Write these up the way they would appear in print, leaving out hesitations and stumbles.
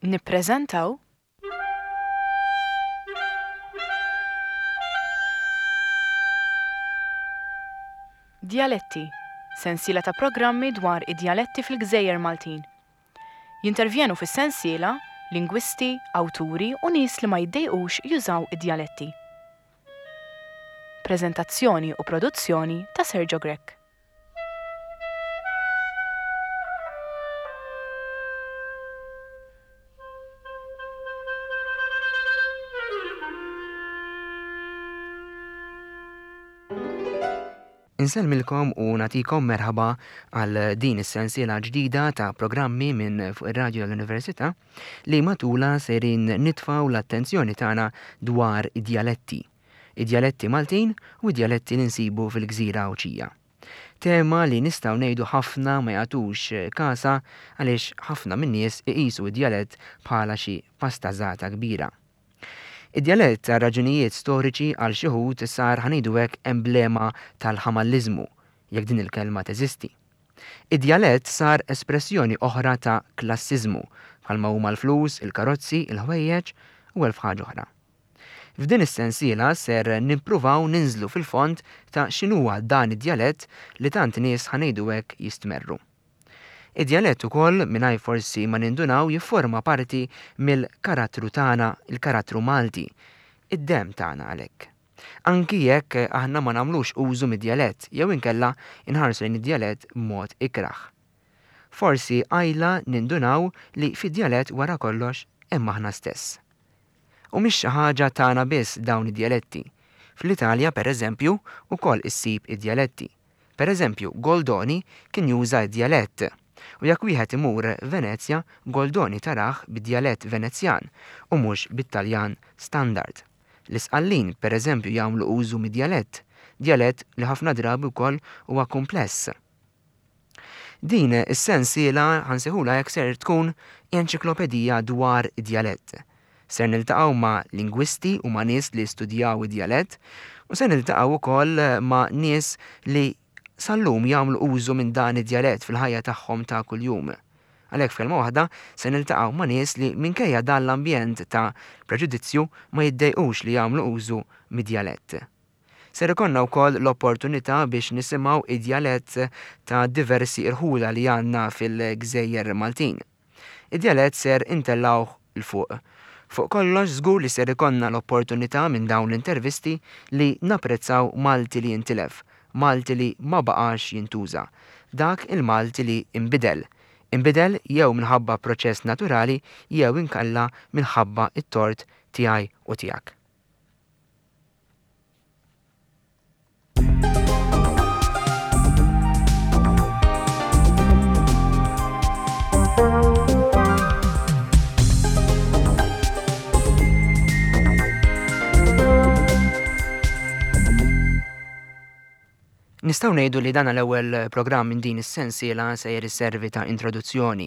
Nippreżentaw. Djaletti, sensiela ta' programmi dwar id-djaletti fil-gżejjer Maltin. Jintervjenu fis-sensiela lingwisti, awturi u nies li ma jiddejqux jużaw id-djaletti. Preżentazzjoni u produzzjoni ta' Sergio Grech. Insellmilkom u nagħtikom merħba għal din is-sensiela ġdida ta' programmi minn fuq ir-radju tal-Università li matulha sejrin nitfgħu l-attenzjoni tagħna dwar id-djaletti. Id-djaletti Maltin u d-djaletti li nsibu fil-gżira Għawdxija. Tema li nistgħu ngħidu ħafna ma jagħtux kasha għaliex ħafna min-nies iqisu d-djalett bħala xi pastażata kbira. Id-djalett għal raġunijiet storiċi għal xi wħud sar ħa ngħidu hekk emblema tal-ħamalliżmu, jekk din il-kelma teżisti. Id-djalett sar espressjoni oħra ta' klassiżmu, bħalma huma l-flus, il-karozzi, il-ħwejjeġ u elf ħaġa oħra. F'din is-sensiela ser nippruvaw ninżlu fil-fond ta' x'inhuwa dan id-djalett li tant nies ħa ngħidu hekk jistmerru. Id-djalett ukoll, mingħajr forsi ma nindunaw, jifforma parti mill-karattru tagħna, il-karattru Malti, id-demm tagħna għalhekk. Anki jekk aħna ma nagħmlux użu mid-djalett jew inkella nħarsu lejn id-djalett b'mod ikrah. Forsi qajla nindunaw li fid-djalett wara kollox hemm aħna stess. U mhix xi ħaġa tagħna biss dawn id-djaletti. Fl-Italja, pereżempju, ukoll issib id-djaletti. Per eżempju, Goldoni kien juża d-djalett. U jekk wieħed imur Venezja, Goldoni tarah bid-djalett Venezjan u mhux bit-Taljan standard. L-Isqallin, per eżempju, jagħmlu użu mid-djalett, djalett li ħafna drabi wkoll huwa kumpless. Din is-sensiela, ħa nsejħulha hekk, ser tkun enċiklopedija dwar id-djalett. Ser niltaqgħu ma' lingwisti u ma' nies li studjaw id-djalett u ser niltaqgħu wkoll ma' nies li sal-lum jagħmlu użu minn dan id-djalett fil-ħajja tagħhom ta' kuljum. Għalhekk f'kelma waħda se niltaqgħu ma' nies li minkejja dan l-ambjent ta' preġudizzju ma jiddejqux li jagħmlu użu mid-djalett. Ser ikollna wkoll l-opportunità biex nisimgħu id-djalett ta' diversi irħula li għandna fil-gżejjer Maltin. Id-djalett ser intellgħuh 'l fuq. Fuq kollox żgur li ser ikollna l-opportunità minn dawn l-intervisti li napprezzaw Malti li intilef, Malti li ma baqax jintuża. Dak il-Malti li inbidel. Inbidel jew minħabba proċess naturali jew inkella minħabba t-tort tiegħi u tiegħek. Nistgħu ngħidu li dan l-ewwel programm minn din is-sensiela sejjer isservi ta' introduzzjoni.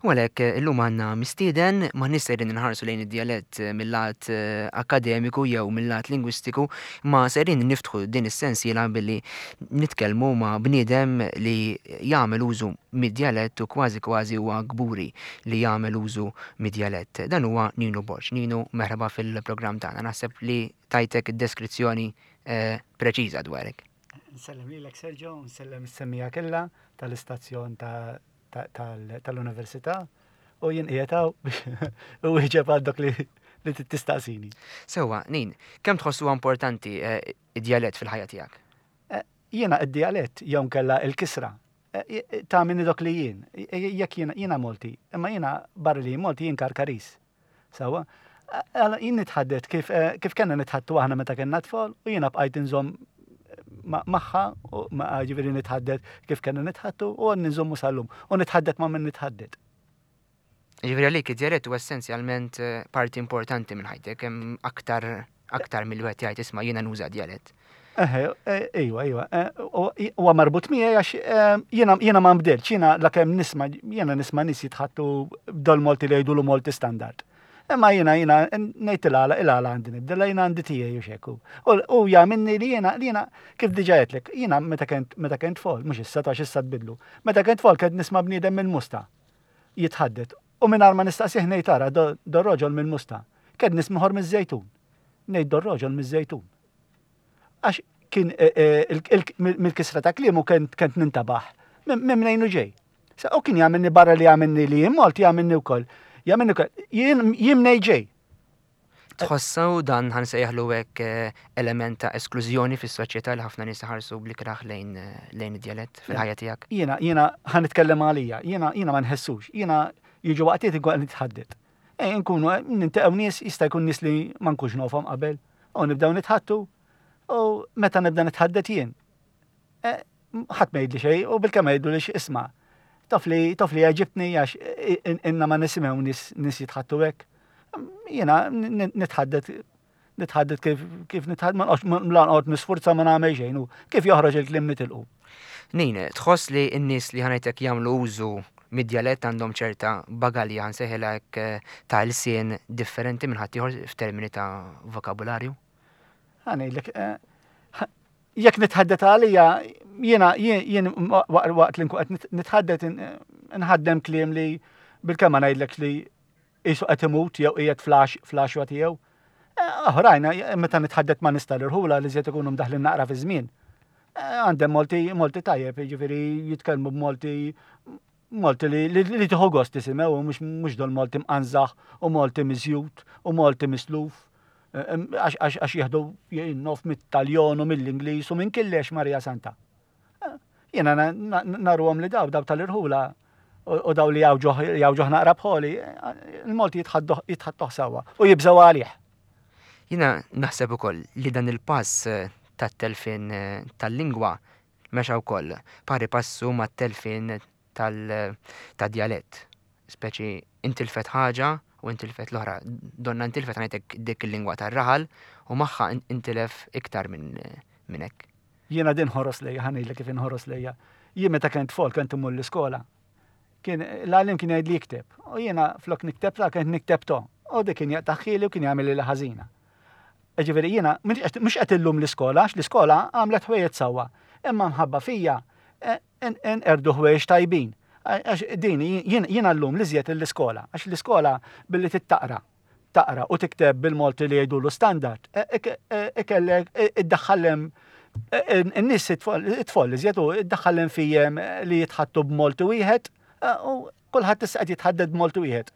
U għalhekk illum għandna mistieden m'aħniex sejrin inħarsu lejn id-djalett mil-lat akkademiku jew mil-lat lingwistiku, imma sejrin niftħu din is-sensiela billi nitkellmu ma' bniedem li jagħmel użu mid-djalett u kważi kważi huwa kburi li jagħmel użu mid-djalett. Dan huwa Ninu Borg. Ninu, merħba fil-programm tagħna. Naħseb li tajtek id-deskrizzjoni preċiża dwarek. Nsellem lilek Sergio, nsellem is-semmiegħa kollha tal-istazzjon tal-università u jien qiegħed hawn biex iwieġeb għal dak li li tistaqsini. Sewwa, Nin, kemm tħoss huwa importanti eh, id-djalett fil-ħajja tiegħek? Eh, jiena id-djalett jew nkella il-kisra eh, ta' minni dok li jien, jekk jiena jiena Malti, imma jiena barra li Malti jien Karkaris. Sawa? Għala jien nitħaddet kif eh, kif kellna nitħattu aħna meta kellna tfal u jiena bqajt inżomm magħha u ġifieri nitħaddet kif kellna nitħattu u għad ninżommu sal-lum u nitħaddet ma' min nitħaddet. Ġifieri għalik id-djalett huwa essenzjalment eh, parti importanti minn ħajtek, hemm aktar aktar mill wieħed jgħid isma' jiena nuża djalett. Eħe, eh, iwa, iwa. Eh, huwa marbut miegħi għax eh, jiena jiena ma nbdilx, jiena lakemm nisma' jiena nisma' nies jitħattu b'dol Malti li jgħidulu Malti standard. Imma jiena jiena ngħid il-għala il-għala għandi nibdilha jiena għandi tiegħi u xekku. U jagħmilni li jiena li jiena kif diġà għedtlek, jiena meta kent meta kent tfal, mhux issa ta' issa tbidlu. Meta kent tfal kent nisma' bniedem mill-musta jitħaddet. U mingħajr ma nistaqsih ngħid ara do roġol mill-Musta. Kien nismiħor miż-Żejtun. Ngħid do roġol miż-Żejtun. Għax kien e, e, mill-kisra ta' kliemu kent nintabaħ minn mnejn ġej. U kien jagħmilni barra li jagħmilni li jien Malti jagħmilni wkoll. Jagħmilni wkoll. Jien mnej ġej. Tħossaw dan ħa nsejjaħlu hekk eh, element ta' esklużjoni fis-soċjetà li ħafna nies iħarsu bl-ikrah lejn eh, lejn id-djalett fil-ħajja tiegħek? Jiena jiena ħa nitkellem għalija, jiena jiena ma nħessux, jiena jiġu waqtiet inkun qed nitħadded. E, nkunu eh, nintaqgħu nies jista' jkun nies li ma nkunx nofhom qabel u nibdew nitħattu u meta nibda nitħaddet jien. Ħadd ma jgħidli xejn u bilkemm jgħidu li isma' taf li taf li għeġibtni għax inna ma nisimgħu nies nies jitħattu hekk. Jiena nitħaddet nitħaddet kif kif nitħaddet ma noqgħodx la noqgħod nisfurza ma nagħmel xejn u kif joħroġ il-kliem nitilqu. Nin, tħoss li n-nies li ħanajtek jagħmlu użu mid-djalett għandhom ċerta bagalja ħa nsejħilha hekk ta' lsien differenti minn ħaddieħor f'termini ta' vokabularju? Ħa ngħidlek, eh, jekk nitħaddet għalija, jiena jien waqt li nkun qed nitħaddet nħaddem kliem li bil-kemm ngħidlek li qisu qed imut jew qiegħed flax flaxwa tiegħu. Eh, oħrajn, eh, meta nitħaddet ma nista' l-irħula li żjed ikunu mdaħlin naqra fi żmien. Eh, għandem molti molti tajjeb, jiġifieri jitkellmu b'molti molti li li tieħu gost tisimgħu mhux dol molti mqanżaħ u molti miżjud u molti misluf. Għax jieħdu jinnof mit-Taljon u mill-Ingliż u minn killex Marija Santa. Jiena naruhom li daw daw tal-irħula u daw li jawġoħ naqra bħoli, il-Malti jitħattuh sewwa u jibżgħu għalih. Jiena naħseb ukoll li dan il-pass tat-telfien tal-lingwa mexa wkoll pari passu mat-telfien tad-djalett. Speċi intilfet ħaġa u intilfet l-oħra. Donna intilfet ngħidlek dik il-lingwa tar-raħal u magħha intilef iktar minn hekk. Jiena din ħoros lejja, ħa ngħidlek kif inħoros lejja. Jien meta kont tfol kont immur l-iskola. Kien l-għalliem kien jgħidli ikteb. U jiena flok nikteb ta' kont nikteb to. U dik kien jaqtagħhieli u kien jagħmilli ħażina. Ġifieri jiena mhux qed illum l-iskola, għax l-iskola għamlet ħwejjeġ sewwa. Imma mħabba fija nqerdu ħwejjeġ tajbin. Għax din jiena llum l-iżjed l-iskola, għax l-iskola billi tittaqra, taqra u tikteb bil-Malti li jgħidulu standard, ikellek iddaħħallem in-nies it-tfol iżjed u iddaħħallem fijem li jitħattu b'Malti wieħed u kulħadd issa qed jitħadded b'Malti wieħed.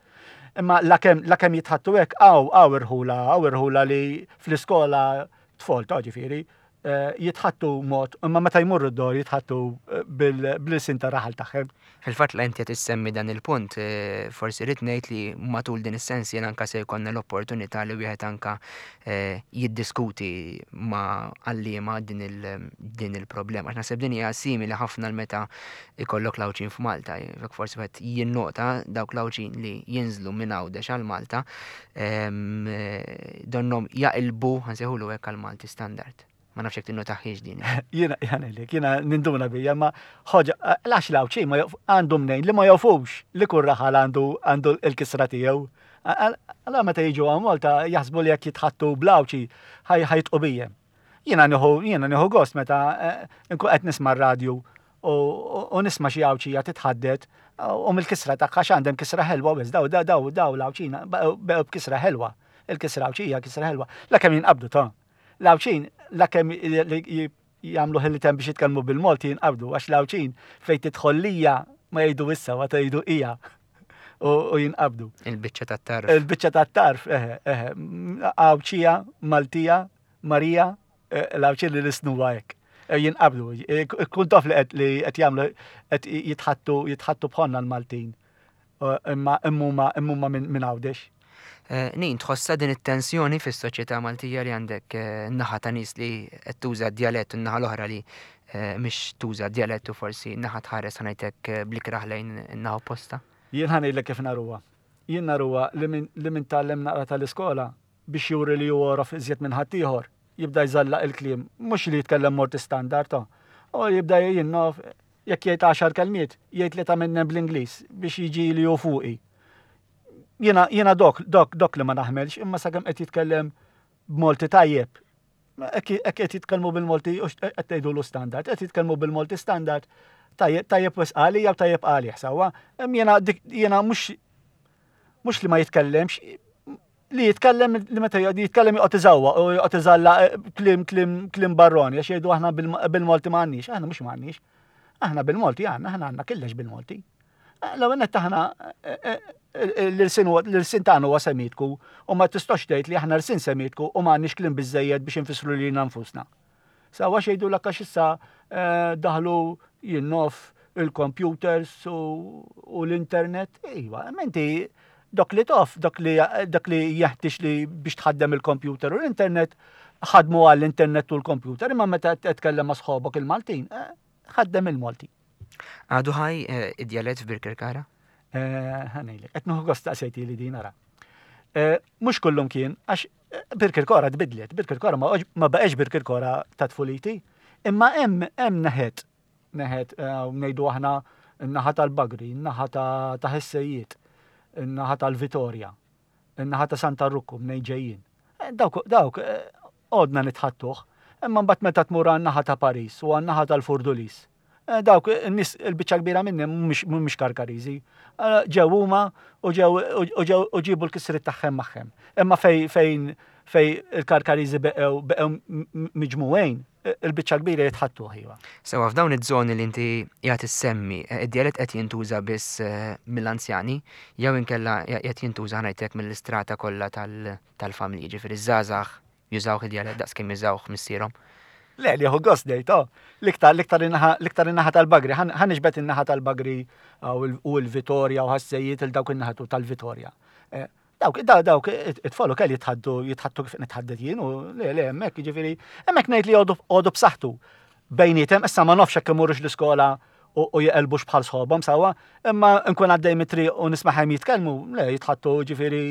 Imma lakemm lakemm jitħattu hekk hawn hawn irħula hawn irħula li fl-iskola tfol ta' ġifieri eh, jitħattu mod, imma meta jmurru d-dor jitħattu eh, bil-sin ta' raħal tagħhom. Fil-fatt la inti qed issemmi dan il-punt, eh, forsi rrid ngħid li matul din is-sens jien anka se jkollna l-opportunità li wieħed anka jiddiskuti ma' għalliema din il-problema. Għax naħseb din hija simili ħafna l-meta ikollok l-Għawdxin f'Malta. Jekk forsi wieħed jinnota dawk l-Għawdxin li jinżlu minn Għawdex għal Malta, donnom jaqilbu, ħansejħulu hekk għal Malti standard. Ma nafx jekk tinnotaħiex din. Jiena jgħanilek, jiena ninduna bija, ma ħoġa, għax l-Għawdxin ma għandu mnejn li ma jafux li kull raħal għandu għandu l-kisra tiegħu. Għala meta jiġu għal Malta jaħsbu li jekk jitħattu bl-Għawdxi ħajtqu bijem. Jiena nieħu jiena nieħu gost meta eh, nkun qed nisma' r-radju u nisma' xi Għawdxija titħaddet u mill-kisra tagħha x'għandhem kisra ħelwa wis daw daw daw daw l-Għawdxina beqgħu b'kisra ħelwa. Il-kisra Għawdxija kisra ħelwa. La kemm jinqabdu ta' l-Għawdxin la kemm jagħmlu ħilitem biex jitkellmu bil-Malti jinqabdu għax l-Għawdxin fejn tidħol lija ma jgħidu issa ma tgħidu hija u jinqabdu. Il-biċċa tat-tarf. Il-biċċa tat-tarf, eħe, eħe. Għawdxija, Maltija, Marija, eh, l-Għawdxin li lisnuha hekk. Eh, jinqabdu, eh, kun taf li qed li qed jagħmlu qed jitħattu jitħattu bħonna l-Maltin. Imma immuma immuma minn Għawdex. Nin, tħossha din it-tensjoni fis-soċjetà Maltija li għandek naħa ta' nies li qed tuża d-djalett u n-naħa l-oħra li mhix tuża d-djalett u forsi naħa tħares ħa ngħidlek bl-ikrah lejn in-naħa opposta? Jien ħa ngħidlek kif naruha. Jien naruha li min li min tgħallem naqra tal-iskola biex juri li hu għorof iżjed minn ħaddieħor, jibda jżallaq il-kliem, mhux li jitkellem Malti standard, ta. U jibda jinnof, jekk jgħid għaxar kelmiet, jgħid tlieta minnhom bl-Ingliż biex jiġi li hu fuqi. Jiena jiena dok dok dok li ma naħmelx, imma sakemm qed jitkellem b'Malti tajjeb, hekk qed jitkellmu bil-Malti u qed tgħidulu standard, qed jitkellmu bil-Malti standard, tajjeb tajjeb wisq għalija u tajjeb għalih sewwa. Jiena jiena mhux. Mhux li ma jitkellemx, li jitkellem li meta jitkellem joqgħod iżawwa u joqgħod iżalla eh, klim klim klim barroni għax jgħidu aħna bil-Malti ma għandniex, aħna mhux ma għandniex. Aħna bil-Malti għandna, aħna għandna killex bil-Malti. Eh, l-ewwel nett aħna eh, l-irsin l-irsin tagħna huwa semitku u ma tistax tgħid li aħna rsin semitku u ma għandniex klim biżejjed biex infissru lilna nfusna. Sawa xejdu l għax issa eh, daħlu jinnof il-computers u l-internet. Iva, menti dok li tof, dok li dak li jeħtieġ li biex tħaddem il-computer u l-internet, ħadmu għall-internet u l-computer, imma meta tkellem ma' sħobok il-Maltin, eh, ħaddem il-Malti. Għadu ħaj eh, id-djalett f'Birkirkara? Ħanejlek, qed nieħu gost taqsejti li din ara. Mhux kullum kien, għax Birkirkora tbidlet, Birkirkora ma baqgħex Birkirkora ta' tfuliti, imma hemm hemm neħet neħet eh, ngħidu aħna n-naħa tal-Bagri, n-naħa ta' Ħessejiet, n-naħa tal-Vitorja, n-naħa ta' Santa Rukku mnejn ġejjin. Eh, dawk dawk eh, għodna nitħattuh, imma mbagħad meta tmur għan-naħa ta' Paris u għan-naħa tal-Furdulis, Eh, dawk in-nies il-biċċa kbira minni mhumiex Karkariżi. Eh, ġew huma u ġew u ġew u ġibu l-kisriet tagħhom magħhom. Imma fej fejn fej il-Karkariżi beqgħu beqgħu miġmugħin, eh, il-biċċa kbira jitħattu iva. Sewa f'dawn iż-żoni li inti qiegħed issemmi, id-djalett qed jintuża biss mill-anzjani jew inkella qed jintuża ħanajtek mill-istrata kollha tal-familji, ġifieri żgħażagħ Jużawh id-djalett daqs kemm jużawh missierhom. Le, li jieħu gost ngħid, oh. L-iktar, l-iktar in-naħa, l-iktar in-naħa tal-Bagri. Ħa niġbed in-naħa tal-Bagri u l-Vitorja u ħassejjiet il dawk in-naħa tal-Vitorja. Eh, dawk, dawk, it-tfal ukoll jitħaddu, jitħattu kif nitħaddet jien u le, le, hemmhekk jiġifieri, hemmhekk ngħid li għodu b'saħħtu. Bejnietem, issa ma nafx hekk imorrux l-iskola u jeqelbux bħal sħobhom sewwa, imma nkun għaddej mit-triq u nisma'hom jitkellmu, le, jitħattu ġifieri,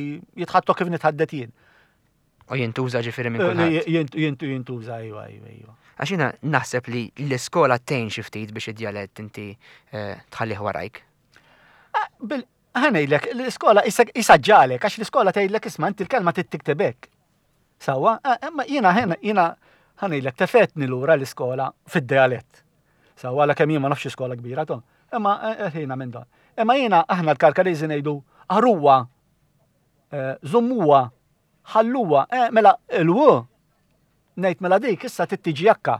jitħattu kif nitħaddet jien. U jintuża ġifieri minn eh, kulħadd. Jintuża, iva, iva, iva. Għax jiena naħseb li l-iskola tgħin xi ftit biex id-djalett inti eh, tħallih warajk. Ah, ħanejlek, l-iskola jisaġġalek, għax l-iskola tgħidlek isma' inti l-kelma tittiktebek. Sawa, eh, imma jiena jiena ħanejlek tefetni lura l-iskola fid-djalett. Sawa, la kemm jien ma nafx iskola kbira to. Imma ħina minn dan. Imma jiena aħna l-Karkariżi ngħidu aruwa, żommuha, ħalluha, eh, mela il-w, ngħid mela dik issa tittiġi akka.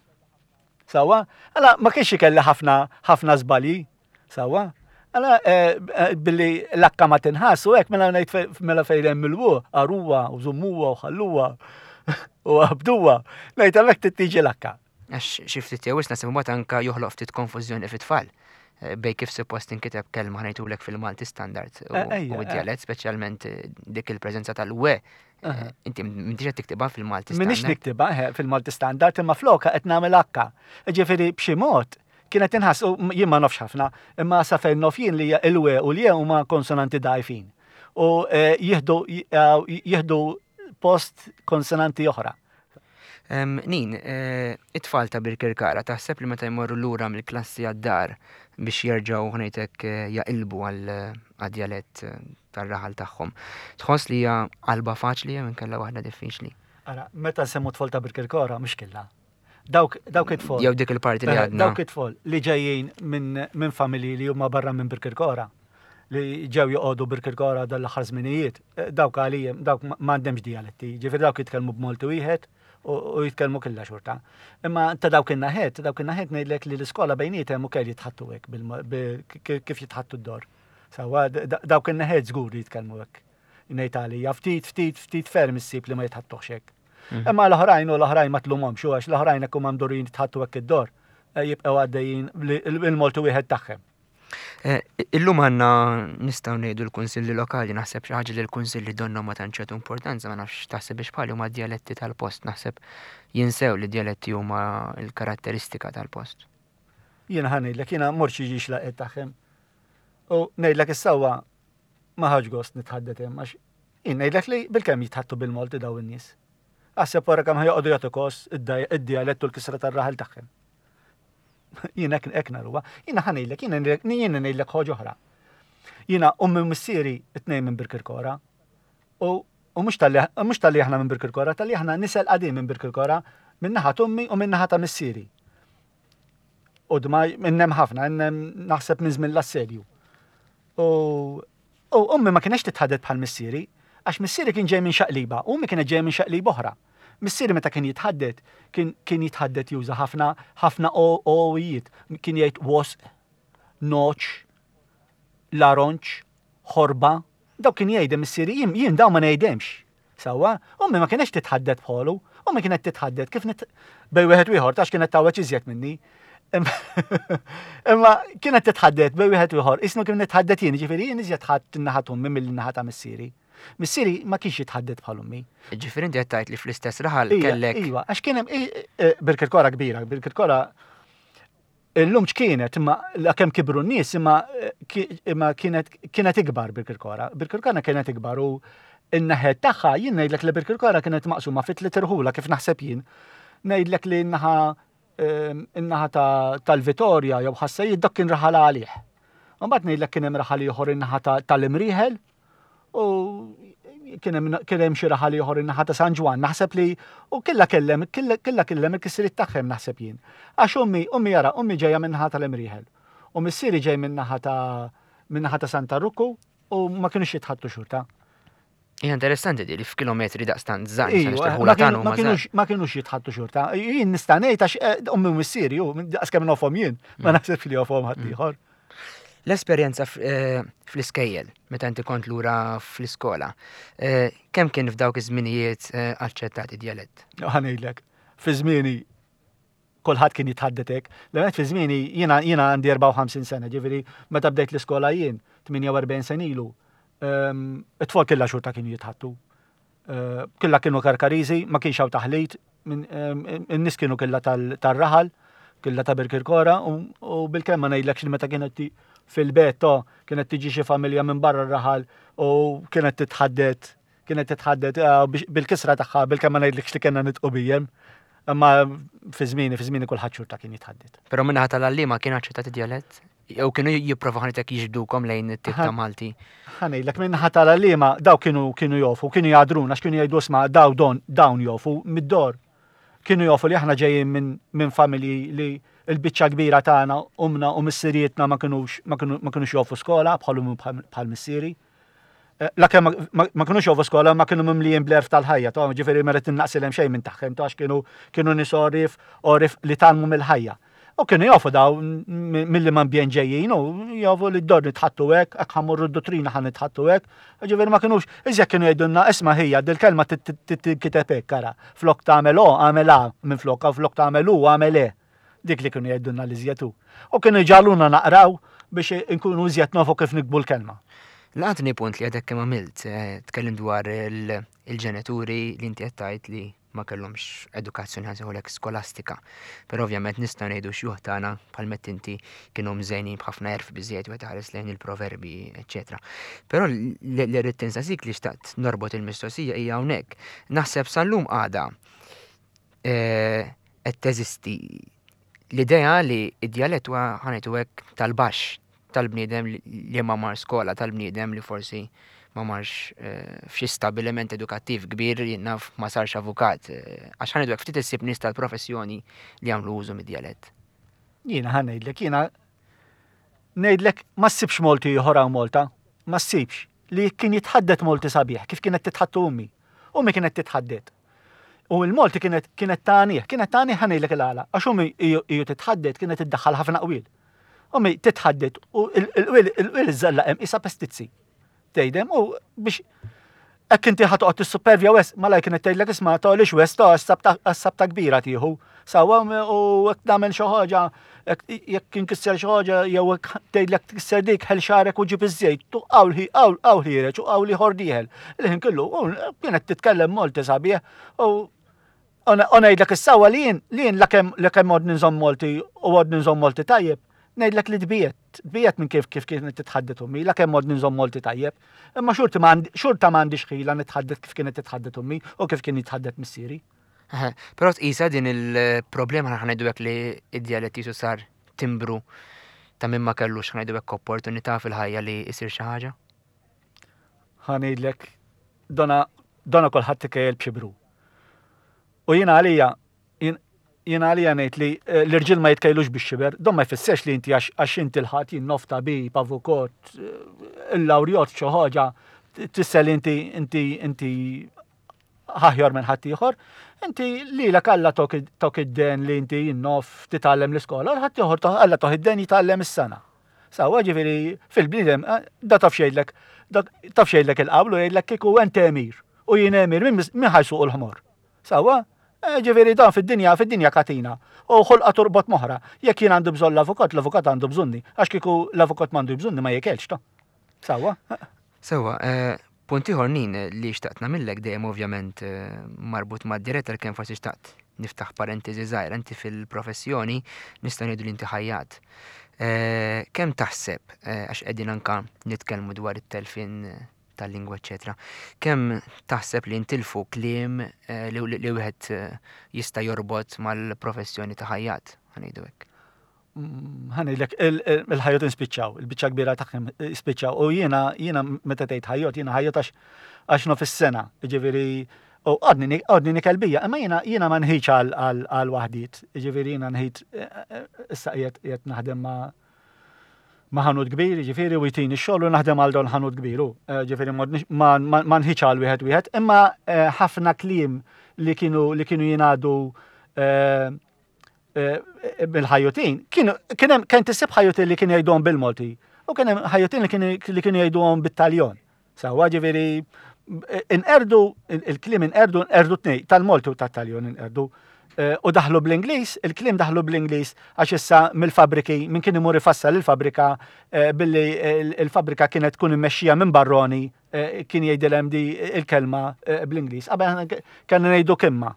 Sawa? Għala ma kienx ikelli ħafna ħafna żbalji. Sawa? Għala eh, eh, billi l-akka ma tinħass u hekk mela ngħid mela fejn hemm il-w, aruwa u żommuha u ħalluha u għabduha, ngħid hemmhekk tittiġi l-akka. Għax xi ftit jew wisq naħseb imbagħad anke joħloq ftit konfużjoni fit-tfal eh, bej kif suppost tinkiteb kelma ħnejtulek fil-Malti standard u eh, eh. d-djalett, speċjalment dik il-preżenza tal-we. Inti m'intix qed tiktibha fil-Malti standard. Minix niktibha fil-Malti standard imma floka qed nagħmel akka. Ġifieri b'xi mod kienet inħass u jien ma nafx ħafna, imma sa fejn nof jien li il-we u l-je huma konsonanti dgħajfin. U jieħdu jieħdu post konsonanti oħra. Nin, eh, it-tfal ta' Birkirkara taħseb li meta jmorru lura mill-klassi għad-dar biex jerġgħu ħnejtek eh, jaqilbu għal-djalett eh, tar-raħal tagħhom. Tħoss li hija qalba faċli jew inkella waħda diffiċli? Ara, meta nsemmu tfal ta' Birkirkara mhux killa. Dawk dawk it-tfal. Jew dik il-parti li għadna. Dawk it-tfal li ġejjin minn min familji li huma barra minn Birkirkara li ġew joqogħdu Birkirkara dan l-aħħar żminijiet, eh, dawk għalihom dawk m'għandhomx dijaletti, ġifieri dawk jitkellmu b'Malti wieħed u jitkellmu killa xorta. Imma ta' dawk in-naħet, dawk in-naħet ngħidlek li l-iskola bejnietem ukoll jitħattu hekk kif jitħattu d-dor. Sawa dawk in-naħet żgur li jitkellmu hekk. Ngħid għalija ftit ftit ftit ferm issib li ma jitħattuhx hekk. Mhm. Imma l-oħrajn u l-oħrajn ma tlumhomx għax l-oħrajn hekk huma mdurin jitħattu hekk id-dor eh, jibqgħu għaddejjin il-Malti wieħed tagħhom. Eh, illum għanna nistaw ngħidu l-kunsilli lokali, naħseb xi ħaġa li l-kunsilli donna ma tantx jagħtu importanza, ma nafx taħseb biex bħali huma djaletti tal-post, naħseb jinsew li djaletti huma l-karatteristika tal-post. Jiena ħa ngħidlek, jiena mort xi ġiex laqgħet tagħhom. U ngħidlek is-sewwa ma ħadx gost nitħaddet hemm għax jien ngħidlek li bilkemm jitħattu bil-Malti daw in-nies. Aħseb wara kemm ħa joqogħdu jagħtu kos id-djalett u l-kisra tar-raħal tagħhom. Jiena hekk hekk naruha. Jiena ħa ngħidlek, jiena jiena ngħidlek ħoġa oħra. Jiena ummi u missieri it-tnejn minn Birkirkora. U u mhux talli mhux talli aħna minn Birkirkora, talli aħna nisel qadim minn Birkirkora, minn naħa t'ummi u minn naħa ta' missieri. U dma innem ħafna, innem naħseb minn żmien l-assedju. U U ommi ma kienx titħaddet bħal missieri, għax missieri kien ġej minn xaqliba u ommi kienet ġejja minn xaqliba oħra. Missieri meta kien jitħaddet, kien kien jitħaddet juża ħafna ħafna owijiet, kien jgħid wasq, noċ, laronċ, ħorba, dawk kien jgħidem missieri, jien jien dawn ma ngħidemx. Sewwa, ommi ma kienx titħaddet bħalu, ommi kienet titħaddet kif nit bej wieħed u ieħor tax kienet tawweġ iżjed minni. Imma kienet titħaddet bej wieħed u ieħor, isnu kif nitħaddet jien, ġifieri jien iżjed ħadd in-naħa t'ommi milli n-naħa ta' missieri. Missieri ma kienx jitħaddet bħal ommi. Ġifieri inti qed tgħid li fl-istess raħal kellek. Iva, għax kien hemm Birkirkora kbira, Birkirkora Illum x'kienet, imma la kemm kibru n-nies, imma imma kienet kienet ikbar Birkirkora. Birkirkora kienet ikbar u n-naħed tagħha jien ngħidlek li Birkirkora kienet maqsuma fi tliet irħula kif naħseb jien. Ngħidlek li n-naħa ehm, in-naħa tal-Vitorja jew Ħassejjed dak kien raħal għalih. Mbagħad ngħidlek kien hemm raħal ieħor in-naħa tal-Imrieħel U kien hemm xi raħal ieħor in-naħa ta' San Ġwann, naħseb li u killa kellem, killa kellem il-kisriet tagħhom naħseb jien. Għax ummi, ummi jara, ummi ġejja minn naħa tal-Imrieħel. U missieri ġej minn naħa ta' minn naħa ta' Santa Rukku u ma kienux jitħattu xorta. Hija interessanti di li f'kilometri daqstant żgħar iva, ma kienux jitħattu xorta. Jien nista' ngħid għax eh, ummi u missieri, daqs kemm nofhom jien, ma mm. naħseb li jofhom ħadd mm. ieħor. L-esperjenza eh, fl-iskejjel, meta inti kont lura fl-iskola, eh, kemm kien f'dawk iż-żminijiet eh, aċċettat id-djalett? Ħa ngħidlek, fi żmieni kulħadd kien jitħaddet hekk. L-għemet fi żmieni jiena jiena għandi 54 sena, ġifieri meta bdejt l-iskola jien 48 sena ilu, ehm, it-tfal killa xorta kienu jitħattu. Killa kienu Karkariżi, ma kienx hawn taħlit, in-nies kienu killa tar-raħal, killa ta' Birkirkora u bil-kemm ma ngħidlekx li meta kienet fil-bet to kienet tiġi xi familja minn barra r-raħal u kienet titħaddet kienet titħaddet eh, bil-kisra tagħha bil-kemm ma ngħidlekx li kellna nitqu bijem. Imma fi żmieni, fi żmieni kulħadd xorta kien jitħadded. Però minnaħa tal-għalliema kien aċċettat id-djalett? Jew kienu jipprovaw ħanitek jiġbdukom lejn it-tip ta' Malti? Ħa ngħidlek min-naħa tal-għalliema daw kienu kienu jofu, kienu jgħadruna għax kienu jgħidu isma' daw don dawn jofu mid-dor. Kienu jofu li aħna ġejjin minn min familji li l-biċċa kbira tagħna umna u missirietna ma kinux ma kinux jofu skola bħal bħal missieri. Eh, la kemm ma kinux jofu skola ma kienu mimlijin bl-erf tal-ħajja, ta' ġifieri ma rrid innaqsilhem xejn minn tagħhom ta' kienu kienu nies orif orif li talmu mill-ħajja. U kienu jafu daw milli ma ambjent ġejjin u jafu li d-dor nitħattu hekk, hekk ħammurru d-duttrina ħan nitħattu hekk. Ġifieri ma kinux, iżjed kienu jgħidulna isma' ħija dil-kelma tinkiteb hekk ara. Flok tagħmel o għamel a minn flok, flok tagħmel u għamel e. Dik li kienu jgħidulna li iżjed hu. U kienu jġagħluna naqraw biex inkunu iżjed nafu kif nikbu l-kelma. Laqatni punt li għadek kemm għamilt, eh, tkellim dwar il-ġenituri li inti qed tgħid li ma kellhomx edukazzjoni ħa skolastika. Però ovvjament nistgħu ngħidu xjuħ tagħna bħal mett inti kienu mżejnin b'ħafna erf biżejjed wieħed ħares lejn il-proverbi, eċetera. Però li rrid tinsasik li xtaqt norbot il-mistoqsija hija hawnhekk. Naħseb sal-lum għada eh, qed teżisti l-idea li id-djalett huwa ħanejtu hekk tal-baxx tal-bniedem li ma mar skola, tal-bniedem li forsi ma marx eh, f'xi stabiliment edukattiv kbir jien naf ma sarx avukat. Eh, għax ħanejtu hekk ftit issib nies tal-professjoni li jagħmlu użu mid-djalett. Jiena ħa ngħidlek, jiena ngħidlek ma ssibx Malti ieħor hawn Malta, ma ssibx li kien jitħaddet Malti sabiħ kif kienet titħattu ummi. Ummi kienet titħaddet. U l-Malti kienet kienet tagħnih, kienet tagħnih ħa ngħidlek il-għala, għax ummi iju titħaddet kienet iddaħħal ħafna qwiel. Ummi titħaddet u l-qwiel il-qwiel iżżalla hemm isa pestizzi. Tgħidem u biex hekk inti ħa toqgħod tissupervja wes, malaj kienet tgħidlek isma' tgħolix wes ta' għas-sabta kbira tieħu. Sawa u hekk tagħmel xi ħaġa, jekk inkisser xi ħaġa jew hekk tgħidlek tkisser dik ħel xagħrek u ġib iż-żejt, tu qawl qawl qawl ħiereġ u qawl ieħor dieħel. Il-ħin kollu u kienet titkellem Malti sabiħ u u ngħidlek is-sewwa li jien li jien lakemm lakemm għodni nżomm Malti u għodni nżomm Malti tajjeb, ngħidlek li tbiegħed, tbiegħed minn kif kif kienet titħaddet ommi, lakemm għodni nżomm Malti tajjeb. Imma xorti ma xorta ma għandix ħila nitħaddet kif kienet titħaddet ommi u kif kien jitħaddet missieri. Però tqisha din il-problema ħa ngħidu hekk li id-djalett jisu sar timbru ta' min ma kellux ħa ngħidu hekk opportunità fil-ħajja li jsir xi ħaġa? Ħa ngħidlek dona dona kulħadd ikejjel b'xibru. U jiena għalija jien Jiena għalija ngħid li eh, l-irġiel ma jitkejlux bix-xiber, don ma jfissirx li inti għax inti l-ħadd jien nof tabib, avukot, eh, il-lawrjot xi ħaġa, tfisser li inti inti inti ħaħjar minn ħaddieħor. Inti lilek Alla tok id-den li inti jinnof titgħallem l-iskola, ħadd ieħor Alla toh id-den jitgħallem is-sena. Sawa ġifieri fil-bniedem eh, da taf xejlek, taf xejlek il-qablu jgħidlek kieku ent emir u jien emir min ħajsuq l-ħmor. Sawa? Eh, ġifieri dan fid-dinja, fid-dinja katina. U ħolqa turbot moħra. Jekk jien għandu bżonn l-avukat, l-avukat għandu bżonni. Għax kieku l-avukat m'għandu bżonni ma jikelx ta. Sawa? Sawa, eh, punt ieħor nin li xtaqt nagħmillek dejjem ovvjament eh, marbut mad-diretta kemm forsi xtaqt niftaħ parentesi żgħira inti fil-professjoni nista' ngħidu li inti ħajjat. Kemm taħseb għax qegħdin anka nitkellmu dwar it-telfin tal-lingwa eċċetera. Kemm taħseb li ntilfu kliem eh, li wieħed eh, jista' jorbot mal-professjoni ta' ħajjat, ħanejdu hekk? Mm, ħanejlek il-ħajjot inspiċċaw, il-biċċa kbira tagħhom spiċċaw. U jiena jiena meta tgħid ħajjot, jiena ħajjot għax għax nof is-sena, ġifieri u għadni għadni nikel bija, imma jiena jiena ma nħidx għal waħdiet, ġifieri jiena nħid eh, issa qiegħed naħdem ma' ma' ħanut kbir, ġifieri u jtini x-xogħol u naħdem għal don ħanut kbir hu. Eh, ġifieri ma nħiċ għal wieħed wieħed, imma eh, ħafna kliem li kienu li kienu jingħadu eh, bil-ħajutin, kienu kien hemm kien tisib ħajutin li kienu jgħiduhom bil-Malti u kien hemm ħajutin li kienu jgħiduhom bit-Taljon. Sawa ġifieri inqerdu il-kliem inqerdu inqerdu tnej tal-Malti u tat-Taljon inqerdu. Eh, u daħlu bl-Ingliż, il-kliem daħlu bl-Ingliż għax issa mill-fabriki minn kien imur ifassal il-fabrika eh, billi il-fabrika kienet tkun immexxija minn barroni eh, kien jgħidilhem di il-kelma bl-Ingliż. Qabel kellna ngħidu kimma.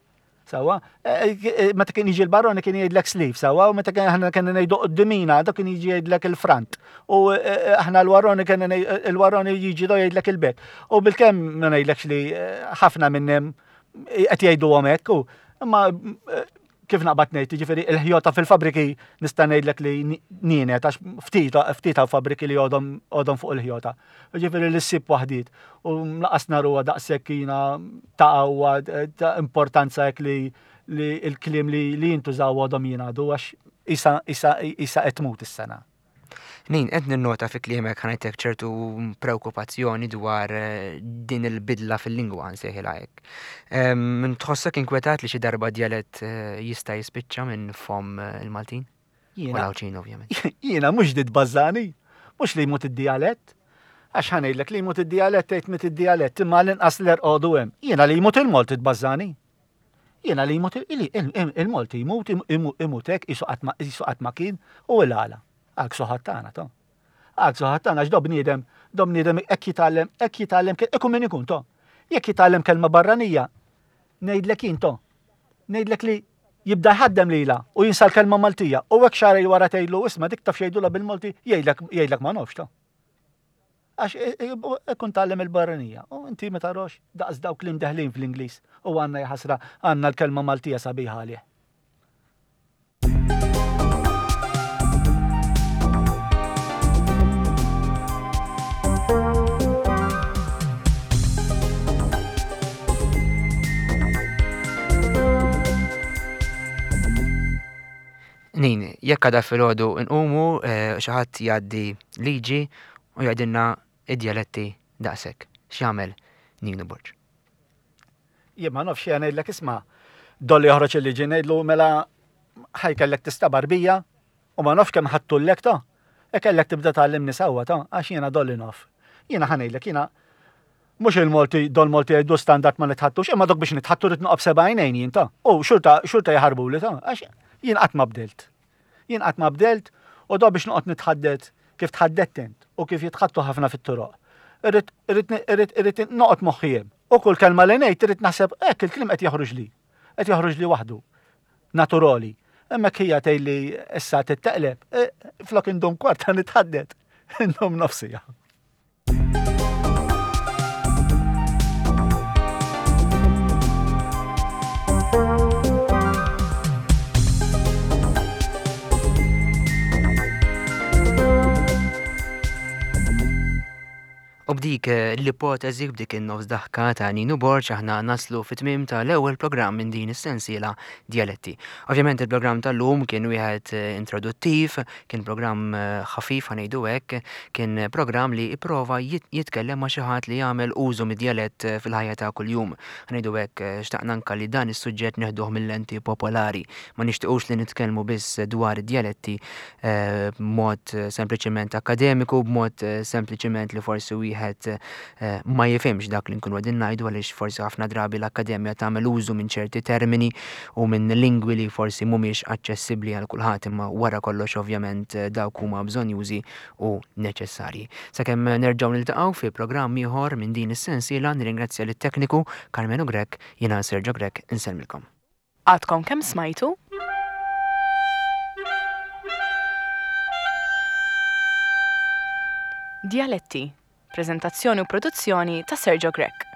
Sawa, eh, eh, meta kien jiġi l-baroni kien jgħidlek sleeve, sawa, u meta kien aħna kien ngħidu qoddimina, dak kien jiġi jgħidlek il-front. U eh, aħna l-waroni kien il-waroni jiġi do jgħidlek il-bek. U bil-kemm ma ngħidlekx li ħafna minnhom qed jgħiduhom hekk, u imma kif naqbad ngħid, jiġifieri il-ħjota fil-fabriki nista' ngħidlek li nienet għax ftit ftit hawn fabriki li għodhom għodhom fuq il-ħjota. Jiġifieri li ssib waħdiet u laqas naruha daqshekk jiena ta' qawwa ta' importanza hekk li li l-kliem li li jintużaw għodhom jingħadu għax isa isa isa qed tmut is-sena. Nin, qed ninnota fi kliemek ħanajtek ċertu preokkupazzjoni dwar eh, din il-bidla fil-lingwa nsejħilha hekk. Min tħossok inkwetat li xi darba djalett eh, jista' jispiċċa minn fom eh, il-Maltin? U l-Għawdxin ovvjament. Jiena mhux dit bażani, mhux li jmut id-djalett. Għax ħanejlek li jmut id-djalett tgħid mit id-djalett imma l-inqas l-erqodu hemm. Jiena li jmut il-Malti tbażani. Jiena li jmut il-Malti jmut imut hekk qisu qatt ma kien u il-għala. Għal ksuħat tagħna to. Għal ksuħat tagħna għax do bniedem, do bniedem hekk jitgħallem, hekk jitgħallem ikun min ikun to. Jekk jitgħallem kelma barranija, ngħidlek jien to. Ngħidlek li jibda jħaddem lilha u jinsa l-kelma Maltija u hekk xahrejn wara tgħidlu isma' dik taf x'jgħidulha bil-Malti jgħidlek jgħidlek ma nafx to. Għax ikun tgħallem il-barranija. U inti ma tarax daqs dawk li mdeħlin fl-Ingliż u għandna jaħasra għandna l-kelma Maltija sabiħa għalih. Nin, jekk għada filgħodu nqumu eh, xi ħadd jgħaddi liġi u jgħidilna id-djaletti daqshekk. X'jagħmel Ninu Borg? Jien ma nafx jien ngħidlek isma' dolli joħroġ il-liġi ngħidlu mela ħajkellek tistabar bija u ma nafx kemm ħadtullek ta' e kellek tibda tgħallimni sewwa ta' għax jiena dolli naf. Jiena ħa ngħidlek jiena mhux il-Malti dol Malti jgħidu standard ma nitħattux, imma dok biex nitħattu rrid noqgħod b'seba' għajnejn jien ta' u xorta xorta jaħarbuli ta' għax jien qatt ma bdilt. Jien qatt ma bdelt u do biex noqgħod nitħaddet kif tħaddedt int u kif jitħaddtu ħafna fit-toroq. Irrid irrid irrid irrid noqgħod moħħi hemm. U kull kelma li ngħid irrid naħseb hekk il-kliem qed joħroġli. Qed joħroġli waħdu. Naturali. Imma hija tgħidli issa titteqleb, e, flok indum kwarta nitħaddet, indum nofsija. U b'din B'dik l-ipoteżi, b'dik in-nofs daħka ta' Ninu Borg aħna naslu fit-tmiem tal-ewwel programm minn din is-sensiela Djaletti. Ovvjament il-programm tal-lum kien wieħed introduttiv, kien programm ħafif ħa ngħidu hekk, kien programm li ipprova jitkellem ma' xi ħadd li jagħmel użu mid-djalett fil-ħajja ta' kuljum. Ħa ngħidu hekk, xtaqna anke li dan is-suġġett neħduh mil-lenti popolari. Ma nixtiequx li nitkellmu biss dwar id-djaletti b'mod sempliċiment akkademiku, b'mod sempliċiment li forsi wieħed ma jifhimx dak li nkunu qegħdin ngħidu għaliex forsi ħafna drabi l-akkademja tagħmel użu minn ċerti termini u minn lingwi li forsi mhumiex aċċessibbli għal kulħadd imma wara kollox ovvjament dawk huma bżonnjużi u neċessarji. Sakemm nerġgħu niltaqgħu fi programm ieħor minn din is-sensiela nirringrazzja lit-tekniku Karmenu Grech, jiena Sergio Grech insellmilkom. Għadkom kemm smajtu? Djaletti, preżentazzjoni u produzzjoni ta' Sergio Grech.